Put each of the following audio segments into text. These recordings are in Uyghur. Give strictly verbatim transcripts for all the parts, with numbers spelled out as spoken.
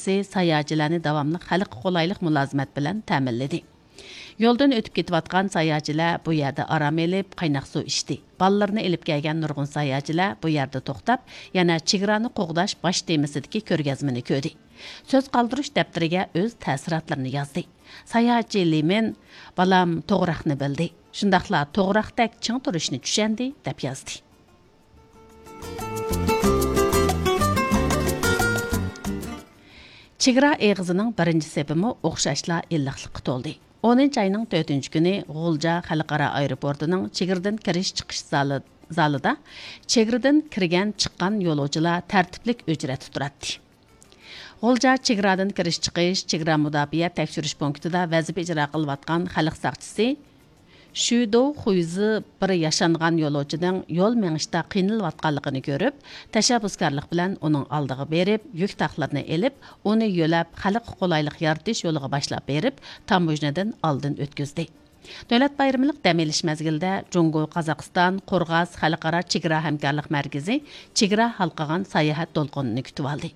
ساياھەتچىلەرنى داۋاملىق خەلققە قولايلىق مۇلازىمەت بىلەن تەمىنلىدى. يولدىن ئۆتۈپ كېتىۋاتقان ساياھەتچىلەر بۇ يەردە ئارام ئېلىپ، قايناق سۇ ئىچتى. بالىلىرىنى ئېلىپ كەلگەن نۇرغۇن ساياھەتچىلەر بۇ يەردە توختاپ، يەنە چېگرانى قوغداش باش تېمىسىدىكى كۆرگەزمىنى كۆردى. سۆز قالدۇرۇش دەپتىرىگە ئۆز تەسىراتلىرىنى يازدى. ساياھەتچى لىمىن، بالام توغراقنى بىلدى، شۇنداقلا توغراقتەك چىڭ تۇرۇشنى چۈشەندى، دەپ يازدى. چېگرا ئېغىزىنىڭ بىرىنچى سېپىمۇ ئوخشاشلا ئىللىقلىققا تولدى. ئونىنچى ئاينىڭ تۆتىنچى كۈنى غۇلجا خەلقئارا ئايروپورتىنىڭ چېگرىدىن كىرىش چىقىش زالى، زالىدا چېگرىدىن كىرگەن چىققان يولۇچىلار تەرتىپلىك ئۆچرەتتە تۇراتتى. غۇلجا چېگرادىن كىرىش چىقىش چېگرا مۇداپىئە تەكشۈرۈش پونكىتىدا ۋەزىپە ئىجرا قىلىۋاتقان خەلق ساقچىسى شۈدوۋ خۇيزى بىر ياشانغان يولۇچىنىڭ يول مېڭىشتا قىينىلىۋاتقانلىقىنى كۆرۈپ، تەشەببۇسكارلىق بىلەن ئۇنىڭ ئالدىغا بېرىپ، يۈك تاقلىرىنى ئېلىپ، ئۇنى يۆلەپ، خەلققە قولايلىق يارىتىش يولىغا باشلاپ بېرىپ، تاموژنىدىن ئالدىن ئۆتكۈزدى. دۆلەت بايرىملىق دەم ئېلىش مەزگىلىدە جۇڭگو، قازاقىستان، قورغاس خەلقئارا چېگرا ھەمكارلىق مەركىزى چېگرا ھالقىغان ساياھەت دولقۇنىنى كۈتۈۋالدى.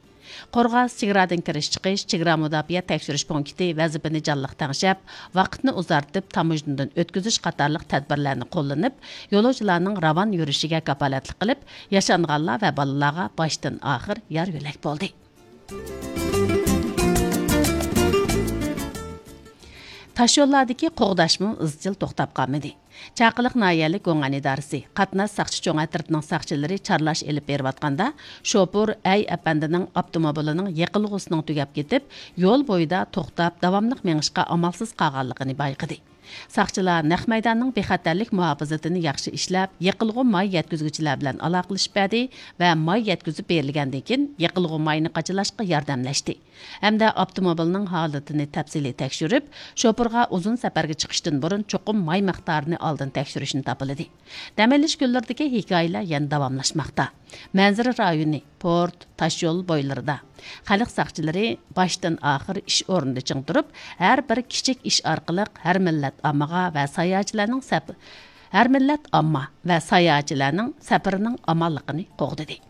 قورغاس چېگرادىن كىرىش چىقىش چېگرا مۇداپىئە تەكشۈرۈش پونكىتى ۋەزىپىنى جانلىق تەڭشەپ، ۋاقىتنى ئۇزارتىپ، تاموژنىدىن ئۆتكۈزۈش قاتارلىق تەدبىرلەرنى قوللىنىپ، يولۇچىلارنىڭ راۋان يۈرۈشىگە كاپالەتلىك قىلىپ، ياشانغانلار ۋە بالىلارغا باشتىن ئاخىر يار يۆلەك بولدى. تاشيوللاردىكى قوغداشمۇ ئىزچىل توختاپ قالمىدى. چاقىلىق ناھىيەلىك گوڭئەن ئىدارىسى قاتناش ساقچى چوڭ ئەترىتىنىڭ ساقچىلىرى چارلاش ئېلىپ بېرىۋاتقاندا، شوپۇر ئەي ئەپەندىنىڭ ئاپتوموبىلىنىڭ يېقىلغۇسىنىڭ تۈگەپ كېتىپ، يول بويىدا توختاپ، داۋاملىق مېڭىشقا ئامالسىز قالغانلىقىنى بايقىدى. ساقچىلار نەق مەيداننىڭ بىخەتەرلىك مۇھاپىزىتىنى ياخشى ئىشلەپ، يېقىلغۇ ماي يەتكۈزگۈچىلەر بىلەن ئالاقىلىشىپ بەردى ۋە ماي يەتكۈزۈپ بېرىلگەندىن كېيىن، يېقىلغۇ ماينى قاچىلاشقا ياردەملەشتى. ھەمدە ئاپتوموبىلنىڭ ھالىتىنى تەپسىلىي تەكشۈرۈپ، شوپۇرغا ئۇزۇن سەپەرگە چىقىشتىن بۇرۇن چوقۇم ماي مىقدارىنى ئالدىن تەكشۈرۈشنى تاپىلىدى. دەم ئېلىش كۈنلىرىدىكى ھېكايىلەر يەنە داۋاملاشماقتا. مەنزىرە رايونى، پورت، تاشيول بويلىرىدا خەلق ساقچىلىرى باشتىن ئاخىر ئىش ئورنىدا چىڭ تۇرۇپ، ھەر بىر كىچىك ئىش ئارقىلىق ھەر مىللەت ئاممىغا ۋە ساياھەتچىلەرنىڭ سەپ-، ھەر مىللەت ئامما ۋە ساياھەتچىلەرنىڭ سەپىرىنىڭ ئامانلىقىنى قوغدىدى.